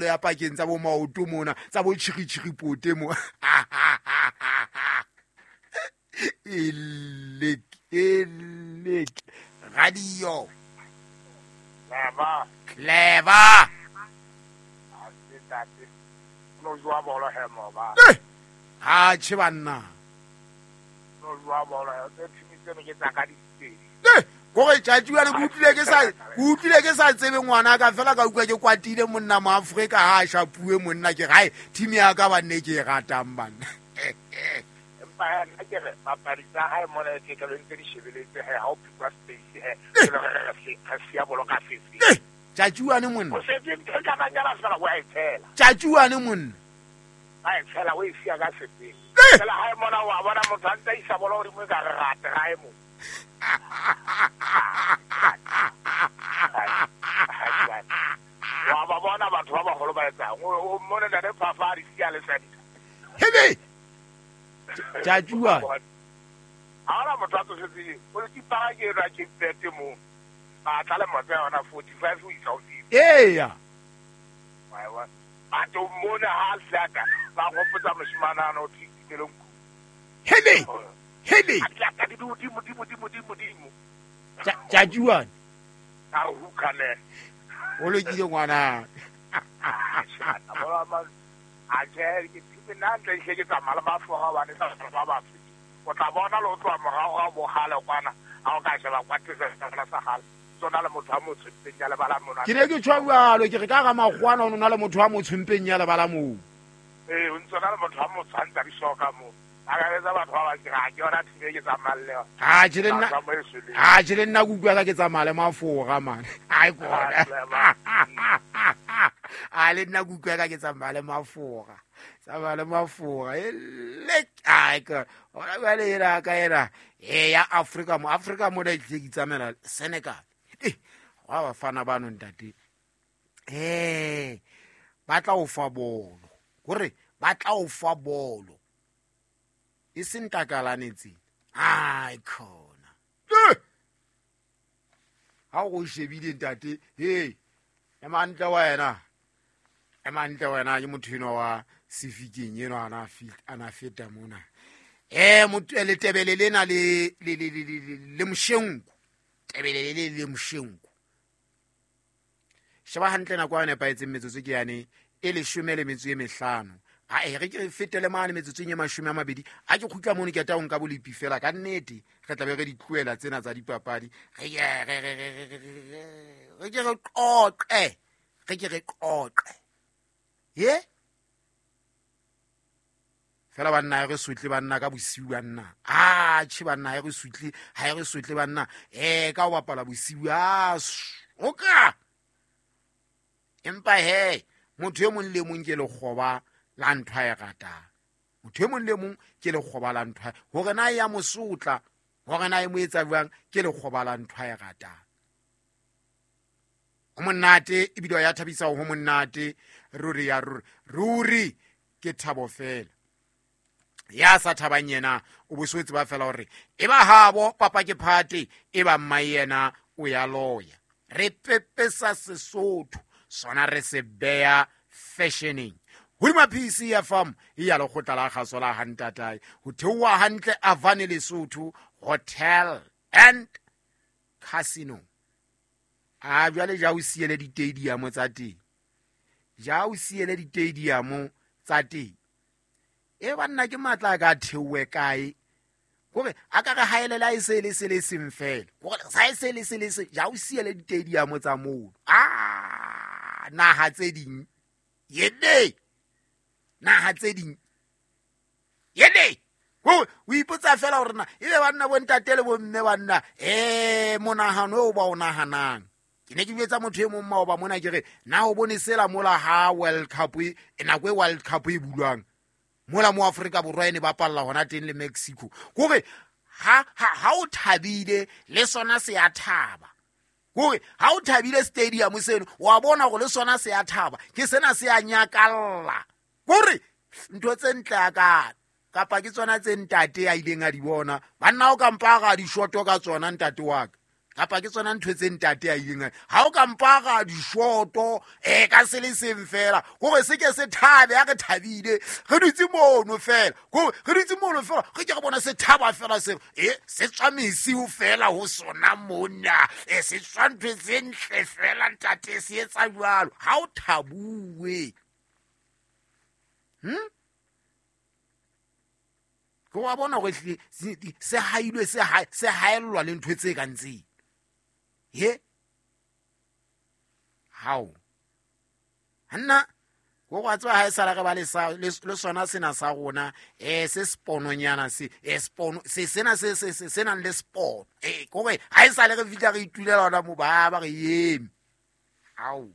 Ya pakeng tsa bo maoto mona tsa bo tšhiri-tšhiripote mo. Elek elek radio. Clever. Clever. A se tate. No jwa bolo he mo ba. Ha che banna. No jwa bolo he. Tse thimi tseno ke tsa ka dipedi. Kore tšatši bjale ke utlwile ke sa ke utlwile ke sa tsebe ngwana ka fela ka utlwa ke kwatile monna mo Afrika ha a shapuwe monna ke gae team ya ka banne ke e ratang banna. Empa he nna ke re papadi tsa hae mona e ke ntse di shebeletse he ha o phikwa space he. Ke le re re siya bolo ka sefe. Tšatši wane monna. O setse ntho e ka bang ya fela wa e tshela. Tšatši wane monna. Ba e tshela o e siya ka sefe. Fela hae mona wa bona motho a ntse a isa bolo godimo e ka re rate gae mo. Wa ba bona batho ba bagolo ba etsang. O mmone ntate Phafa a di siya le sadisa. Hebe. Tšatši wane. Ha hona motho a tsofetseng. O le tipara ke enwa Cape Verde mo. Ba tla le motse yona 45 ho isa ho 50. Eya. Wa e bona. Batho mmone ha a siaka ba gopotsa moshimane ana o thitileng ku. Hebe. Hebe. A tla di godimo dimo dimo dimo dimo. Tšatši wane. A hooka ne. O lokile ngwana. A ke ke thimi nna ntle hle ke tsamaya le mafoga hobane sa ba batho. O tla bona le o tloha morago ga bogale kwana ha o ka sheba kwa tse sa gale. Tsona le motho a motsho mpeng ya lebala mona. Ke ne ke tjho jwalo ke re ka ga makgwana o na le motho a motsho mpeng ya lebala moo. O ntse na le motho a motsho a ntse a di soka moo. A ka etsa batho ba bang ke re ha ke yona thimi e ke tsamayang le yona. Ha tjhe le nna. Ba tsamaye seleng. Ha tjhe le nna ke utlwa ka ke tsamaya le mafoga man. Ai kona. A le nna ke utlwa ka ke tsamaya le mafoga. Tsamaya le mafoga. Elek ai ka. Hona jwale ena ka ena. Ya Afrika mo Afrika mo ne ke tsamaela Senegal. Wa bafana bano ntate. Ba tla o fa bolo. Hore ba tla o fa bolo. E seng takalane tsena. Ai khona. Ha o shebile ntate, hey, ema ntle wena. Ema ntle wena ke motho enwa wa sefikeng enwa ana feta mona. Motho le tebele lena le le le le le moshenko. Tebele le le moshenko. Sheba hantle nako ya nepahetseng metsotso ke yane e 15. A e re ke fetele mane metsotsong e 20. A ke kgutla mono ke ta o nka bolepi fela ka nnete re tla be re di tlohela tsena tsa dipapadi. Re ke re qoqe. Re ke re qoqe. Ye? Fela banna re sutle banna ka bosiu banna. A tjhe banna ha re sutle, ha re sutle banna. Ka o bapala bosiu a oka. Empa he, motho e mong le mong ke lekgoba la ntho a e ratang. Motho e mong le mong ke lekgoba la ntho. Hore na ya mosotla, hore na e mo etsa jwang, ke lekgoba la ntho a e ratang. Ho monate ebile ya thabisa ho monate ruri ya ruri. Ruri ke thabo fela. Ya sa thabang yena o boswetse ba fela hore e ba habo papa ke phate e ba mma yena o ya loya. Re pepesa Sesotho sona re se beya fashioning. Hodima PC FM ya lekgotla la kgaso la Hantatae ho theoha hantle Avane Lesotho Hotel and Casino. A jwale ja o siele di-stadium tsa teng. Ja o siele di-stadium tsa teng. E banna ke matla a ka theohe kae? Kore a ka re haelela e se le se le seng fela. Kore sa e se le se le se ja o siele di-stadium tsa moo. Naha tse ding. Yene. Naha tse ding. Yene. O ipotsa fela hore na ebe banna bo ntate le bo mme banna monahano o ba o nahanang. Ke ne ke jwetsa motho e mong maoba mona ke re na o bone sela mola ha World Cup e nako e World Cup e bulwang. Mola mo Afrika Borwa e ne bapalla hona teng le Mexico. Kore ha o thabile le sona se ya thaba. Kore ha o thabile stadium seno wa bona hore le sona se ya thaba. Ke sena se ya nyakalla. Kore ntho tse ntle a ka kapa ke tsona tse ntate a ileng a di bona. Banna o ka mpa ga di shoto ka tsona ntate wa ka. Kapa ke tsona ntho tse ntate a ileng ha o ka mpara dishoto ka se le seng fela gore se ke se thabe. Ha re thabile re dutse mono fela, gore re dutse mono fela re ke re bona se thaba fela, se se tswa mesiu fela ho sona mona, se tswa ntho tse ntle fela ntate, se etsa jwalo. Ha o thabuwe, ke wa bona gore se hailwe, se haellwa le ntho tse kang tseo. He hao nna go go tswa ha e sala re ba le sona sena sa rona, se sepononyana se, sepono se sena se se se nang le sepono, kore ha e sale re fihla re itulela hona mo ba ba re eme. Hao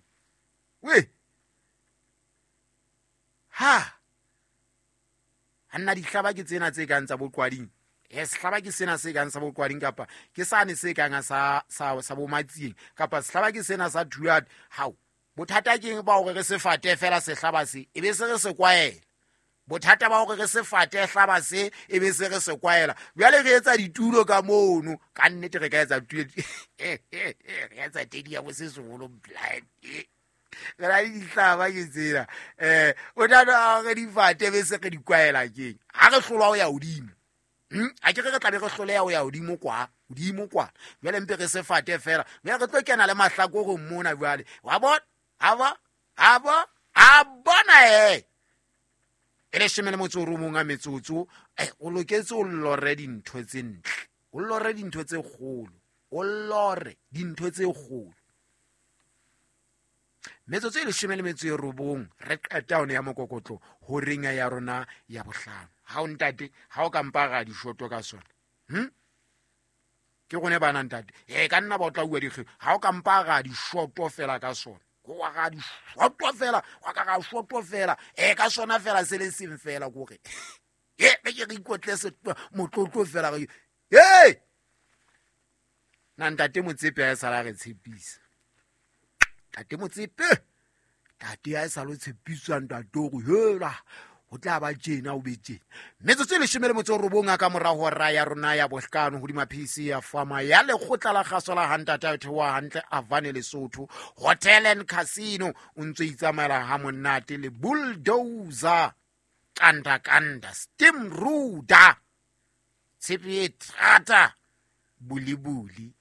we ha nna dihlaba ke tsena tse kang tsa boqwading, sehlaba ke sena se kang sa boqwading, kapa ke sane se kang sa sa sa bomatsieng, kapa sehlaba ke sena sa thuat. Hao bothata ke ba hore re se fate fela sehlaba se, e be se re se kwaela. Bothata ba hore re se fate hlaba se, e be se re se kwaela. Jwale re etsa ditulo ka mono, ka nnete re ka etsa tulo, re etsa tedi ya bo se seholo blind, re na le dihlaba ke tsena. Bothata re di fate be se re di kwaela keng? Ha re hlolwa ho ya hodimo, a ke re tla be re hloleha ho ya hodimo kwa, hodimo kwa. Jwale mpe re se fate fela, jwale re tlo kena le mahlakoreng mona jwale. Wa bona? A ba? A ba? A bona E leshome le motso o robong a metsotso, o loketse o lore dintho tse ntle, o lore dintho tse kgolo, o lore dintho tse kgolo. Metsotso e leshome le metso e robong re qeta hone ya mokokotlo ho ringa ya rona ya bohlano. Ha o ntate, ha o ka mpa ra dishoto ka sona, ke rone bana ntate, ka nna ba o tla bua dikgeo. Ha o ka mpa ra dishoto fela ka sona, wa ga dishoto fela, wa ka ga shoto fela, ka sona fela se le seng fela kore be ke re ikotle se motlotlo fela re na ntate Motsepe a e sala re tshepisa. Ntate Motsepe, ntate a e sala o tshepiswa ntate hore hela ho tla ba tjena, o be tjena. Metsotso e leshome le motso o robong a ka mora hora ya rona ya bohlano hodima PC ya Fama ya lekgotla la kgaso la Hantata ya theoha hantle Avane Lesotho Hotel and Casino. O ntso itsamaela ha monate le bulldozer, kanda kanda, steam ruda, tshepe e thata, bulibuli.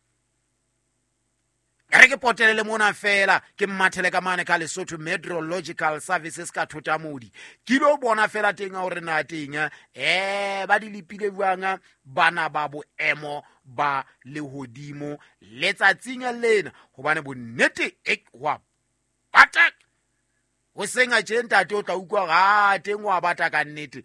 Re ke potelele mona fela, ke mmathele ka mane ka Lesotho Meteorological Services ka Thotamodi. Ke lo bona fela teng hore na teng ba di lepile jwang bana ba boemo ba lehodimo letsatsing lena, hobane bonnete e wa bata ho senga tje ntate, o tla utlwa hore teng wa bata ka nnete.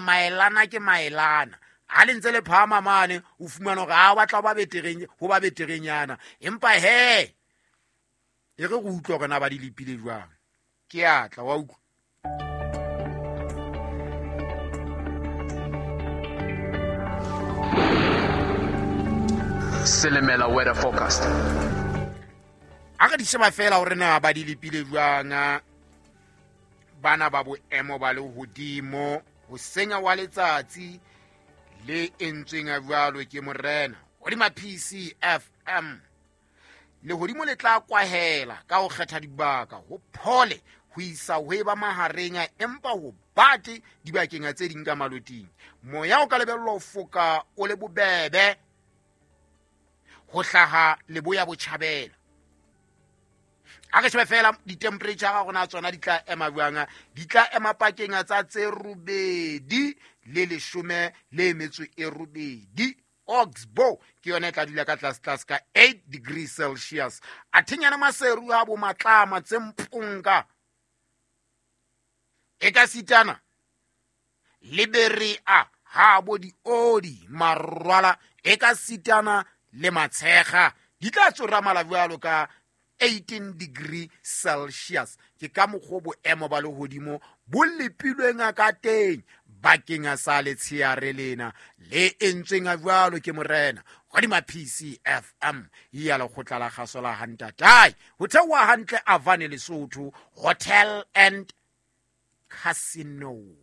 Maelana ke maelana. Ha le ntse le phahama mane, o fumana hore ha o batla ho ba betereng, ho ba beterenyana. Empa he, e re re utlwe hore na ba di lepile jwang. Ke a tla, wa utlwa. Selemela weather forecast. Ha re di sheba fela hore na ba di lepile jwang bana ba boemo ba lehodimo, ho senya wa letsatsi le entsweng a jwalo ke morena hodima PCFM. Lehodimo le tla kwahela ka ho kgetha dibaka, ho phole ho isa ho eba mahareng, empa ho bate dibakeng tse ding ka maloting. Moya o ka lebellwa ho foka o le bobebe ho hlaha leboya botjhabela. A re shebe fela di-temperature ga rona tsona di tla ema jwang? Di tla ema pakeng tsa tse robedi le leshome le metso e robedi. Oxbow ke yona e tla dula ka tlase tlase ka 8 degrees Celsius. A thenyana maseru ha bo matlama tse mponka. E ka sitana le berea ha bo diodi marwala, e ka sitana le matshega di tla tsora mala jwalo ka 18 degree Celsius. Ke ka mokgwa boemo ba lehodimo bo lepilweng ka teng bakeng sa letsheare lena le entsweng jwalo ke morena hodima PCFM ya lekgotla la kgaso la Hantatai. Ho theoha hantle Avane Lesotho Hotel and Casino.